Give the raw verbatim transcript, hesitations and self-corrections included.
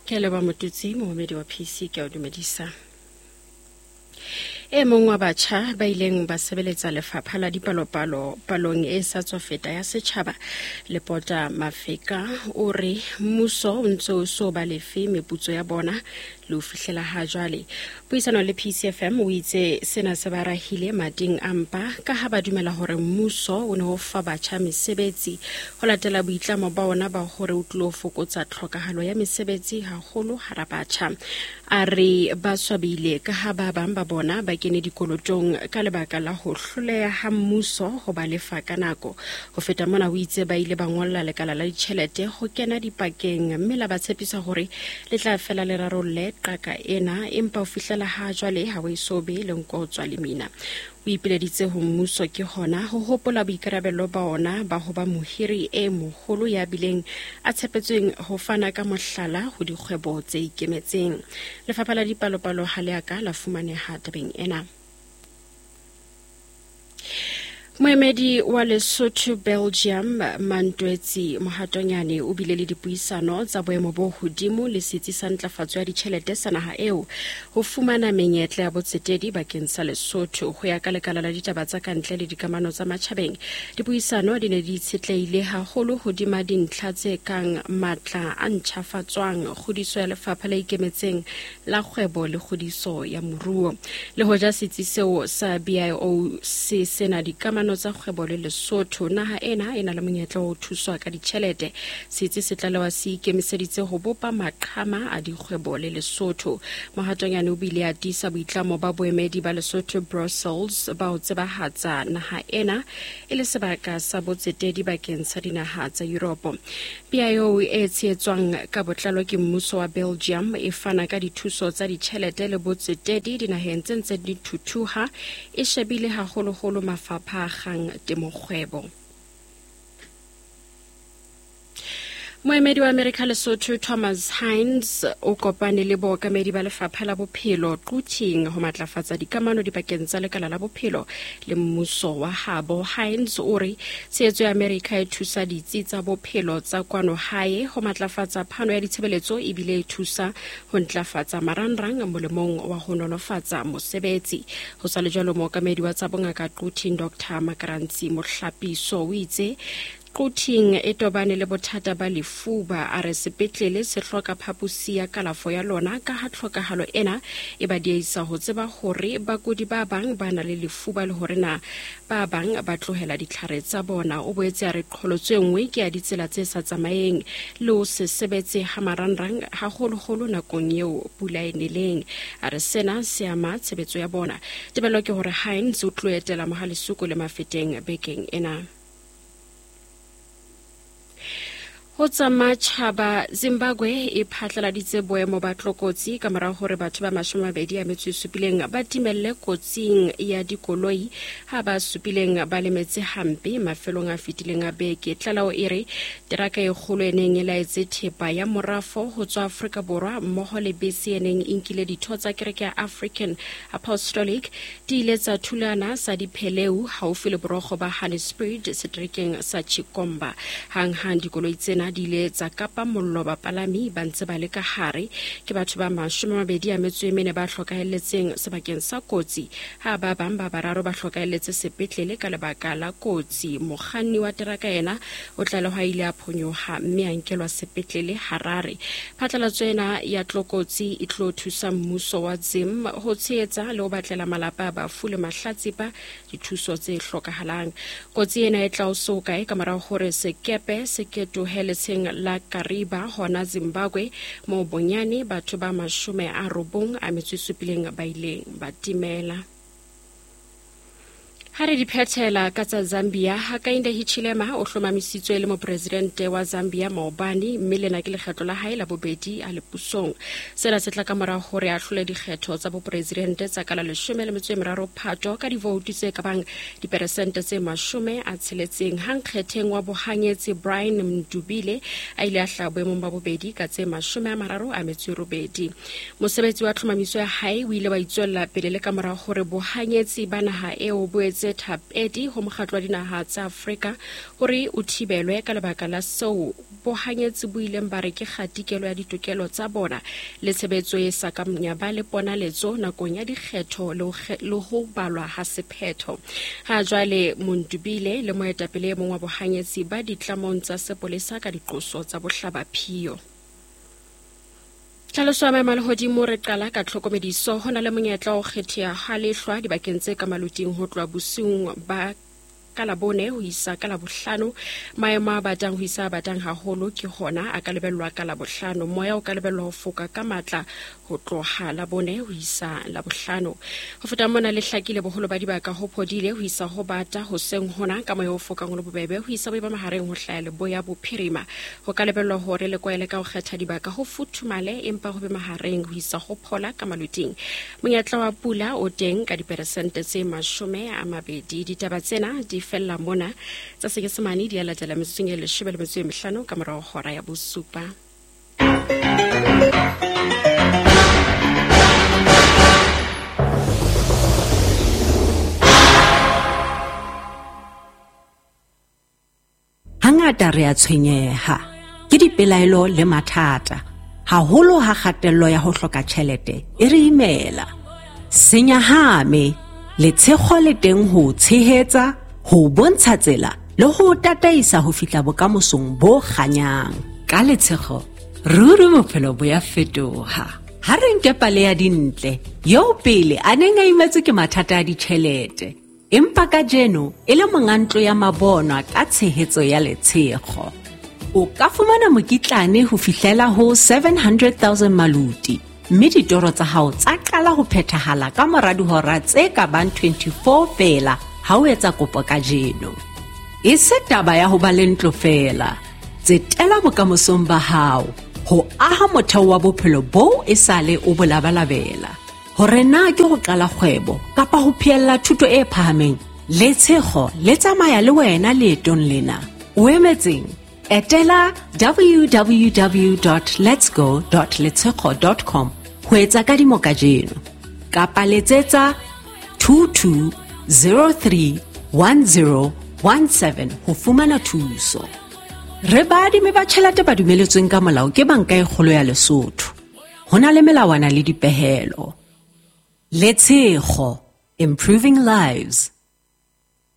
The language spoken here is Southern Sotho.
Ke a leboha Motutsi, momamedi wa P C, ke a o dumedisa. E mong wa batjha ba ileng ba sebeletsa lefapha la dipalopalo palong e sa tswa feta ya setjhaba, Lepota Mafeka, o re mmuso o ntse o so ba lefe meputso ya bona le ho fihlela ha jwale. Puisano le P C F M o itse sena se ba rahile mading a mpa ka ha ba dumela hore mmuso o ne o fa batjha mesebetsi ho latela boitlamo ba ona ba hore o tlilo fokotsa tlhokahalo ya mesebetsi haholo hara batjha. A re ba swabile ka ha ba bang ba bona ba kene dikolotong ka lebaka la ho hloleha ha mmuso ho ba lefa ka nako. Ho feta mona o itse ba ile ba ngolla lekala la ditjhelete ho kena dipakeng mme la ba tshepisa hore le tla fela le rarolle qaka ena, empa ho fihlela ha jwale ha ho eso be le nko ho tswa lemina. O ipileditse ho mmuso ke hona ho hopola boikarabelo ba ona ba ho ba mohiri e moholo ya bileng a tshepetsweng ho fana ka mohlala ho dikgwebo tse ikemetseng. Lefapha la dipalopalo ha le a ka la fumaneha tabeng ena. Moemedi wa Lesotho Belgium Mantwetsi Mohatonyane o bile le dipuisano tsa boemo bo hodimo le setsi sa ntlafatso ya ditjhelete sa naha eo ho fumana menyetla ya botsetedi bakeng sa Lesotho. Ho ya ka lekala la ditaba tsa kantle le dikamano tsa matjhabeng, dipuisano di ne di itshetlehile haholo hodima dintlha tse kang matla a ntjhafatswang, kgodiso ya lefapha le ikemetseng la kgwebo le kgodiso ya moruo. Le hoja setsi seo sa B I O se sena dikamano tsa kgwebo le Lesotho, naha ena e na le monyetla wa ho thuswa ka ditjhelete. Setsi se tlalewa se ikemiseditse ho bopa maqhama a dikgwebo le Lesotho. Mohatonyane o bile a tiisa boitlamo ba boemedi ba Lesotho Brussels ba ho tsebahatsa naha ena e le sebaka sa botsetedi bakeng sa dinaha tsa Europe. B I O e tshehetswang ka botlalo ke mmuso wa Belgium e fana ka dithuso tsa ditjhelete le botsetedi dinaheng tse ntseng di thuthuha, e shebile haholoholo mafapha a kgang temokgwebo. Moemedi wa Amerika Lesotho Thomas Hines o kopane le bookamedi ba lefapha la bophelo Quthing ho matlafatsa dikamano dipakeng tsa lekala la bophelo le mmuso wa habo. Hines o re tshehetso ya Amerika e thusa ditsi tsa bophelo tsa kwano hae ho matlafatsa phano ya ditshebeletso ebile e thusa ho ntlafatsa marangrang molemong wa ho nolofatsa mosebetsi. Ho sa le jwalo, mookamedi wa tsa bongaka Quthing Doctor Makarantsi Mohlapiso o itse Quthing e tobane le bothata ba lefuba. A re sepetlele se hloka phaposi ya kalafo ya lona ka ha tlhokahalo ena e ba dieisa ho tseba hore bakudi ba bang ba na le lefuba le hore na ba bang ba tlohela ditlhare tsa bona. O boetse a re qholotso e nngwe ke ya ditsela tse sa tsamaeng le ho se sebetse ha marangrang haholoholo nakong eo pula e neleng. A re sena se ama tshebetso ya bona. Tebello ke hore Hines o tlo etela Mohalesuku le Mafeteng bekeng ena. Ho tsa matjhaba, Zimbabwe e phatlaladitse boemo ba tlokotsi ka mora hore batho ba mashome a mabedi a metso e supileng ba timelle kotsing ya dikoloi ha ba supileng ba lemetse hampe mafelong a fetileng a beke. Tlaleho e re teraka e kgolo e neng e laetse thepa ya morafo ho tswa Afrika Borwa mmoho le bese e neng e nkile ditho tsa kereke ya African Apostolic di ile tsa thulana sa dipheleu haufi le borokgo ba Hannesburg seterekeng sa Chikomba. Hanghang dikoloi tsena di ile tsa kapa mollo, bapalami ba ntse ba le ka hare. Ke batho ba mashome a mabedi a metso e mene ba hlokahelletseng sebakeng sa kotsi, ha ba bang ba bararo ba hlokahelletse sepetlele ka lebaka la kotsi. Mokganni wa teraka ena o tlalehwa a ile a phonyoha mme a nkelwa sepetlele Harare. Phatlalatso ena ya tlokotsi e tlo thusa mmuso wa Zim ho tshehetsa le ho batlela malapa a bafu le mahlatsipa dithuso tse hlokahalang. Kotsi ena e tla o so kae ka mora hore sekepe se ketohe letsheng la Kariba hona Zimbabwe, moo bonyane batho ba mashome a robong a metso e supileng ba ileng ba timela. Ha re di phethela ka tsa Zambia, Hakainde Hichilema o hlomamisitswe le mopresidente wa Zambia maobane, mme lena ke lekgetlo la hae la bobedi a le pusong. Sena se tla ka mora hore a hlole dikgetho tsa bopresidente tsa ka la leshome le metso e meraro Phato ka divoutu tse ka bang diperesente tse mashome a tsheletseng. Ha nkgetheng wa bohanyetsi Brian Mdubile a ile a hlaha boemong ba bobedi ka tse mashome a mararo a metso e robedi. Mosebetsi wa tlhomamiso ya hae o ile wa itswella pele le ka mora hore bohanyetsi ba naha eo bo etse isitse thapedi ho mokgatlo wa dinaha tsa Afrika hore o thibelwe ka lebaka la seo bohanyetsi bo ileng ba re ke kgatikelo ya ditokelo tsa bona le tshebetso e sa kang ya ba le ponaletso nakong ya dikgetho le ho balwa ha sephetho. Ha jwale Mundubile le moetapele e mong wa bohanyetsi ba ditlamong tsa sepolesa ka diqoso tsa bohlabaphiyo. Tlhaloso ya maemo a lehodimo re qala ka tlhokomediso. Ho na le monyetla wa ho kgetheha ha lehlwa dibakeng tse ka maloting ho tloha bosiung ba ka Labone ho isa ka Labohlano. Maemo a batang ho isa a batang haholo ke hona a ka lebellwa ka Labohlano. Moya o ka lebellwa ho foka ka matla ho tloha Labone ho isa Labohlano. Ho feta mona le hlakile boholo ba dibaka ho phodile ho isa ho bata hoseng hona ka moya o fokang o le bobebe ho isa boima mahareng ho hlaya leboya bophirima. Ho ka lebellwa hore le kwaele ka ho kgetha dibaka ho futhumale empa ho be mahareng ho isa ho phola ka maloting. Monyetla wa pula o teng ka diperesente tse mashome a mabedi. Ditaba tsena di fella mona tsa Senyesemane di a latela metsotsong e leshome le metso e mehlano ka morao hora ya bosupa. Hangata re a tshwenyeha ke dipelaelo le mathata, haholo ha kgatello ya ho hloka tjhelete e re imela. Senyahame, letshego le teng ho tshehetsa, ho bontsha tsela le ho tataisa ho fihla bokamosong bo kganyang. Ka letshego, ruri bophelo bo ya fetoha. Ha re nke pale ya Dintle, eo pele a neng a imetswe ke mathata a ditjhelete, empa kajeno e le monga ntlo ya mabonwa ka tshehetso ya letshego. O ka fumana mokitlane ho fihlela ho seven hundred thousand maluti, mme ditoro tsa hao tsa qala ho phethahala ka mora dihora tse ka bang twenty-four feela ha o etsa kopo kajeno. E se taba ya ho ba le ntlo feela, tsetela bokamosong ba hao ho aha motheo wa bophelo boo e sale o bo labalabela. Hore na ke ho qala kgwebo kapa ho phehella thuto e phahameng, letshego le tsamaya le wena leetong lena. O emetseng? Etela w w w dot letsgo dot letshego dot com ho etsa kadimo kajeno kapa letsetsa two two zero three one zero one seven ho fumana thuso. Re baadimi ba tjhelete ba dumeletsweng ka molao ke Banka e Kgolo ya Lesotho. Ho na le melawana le dipehelo. Letshego, improving lives.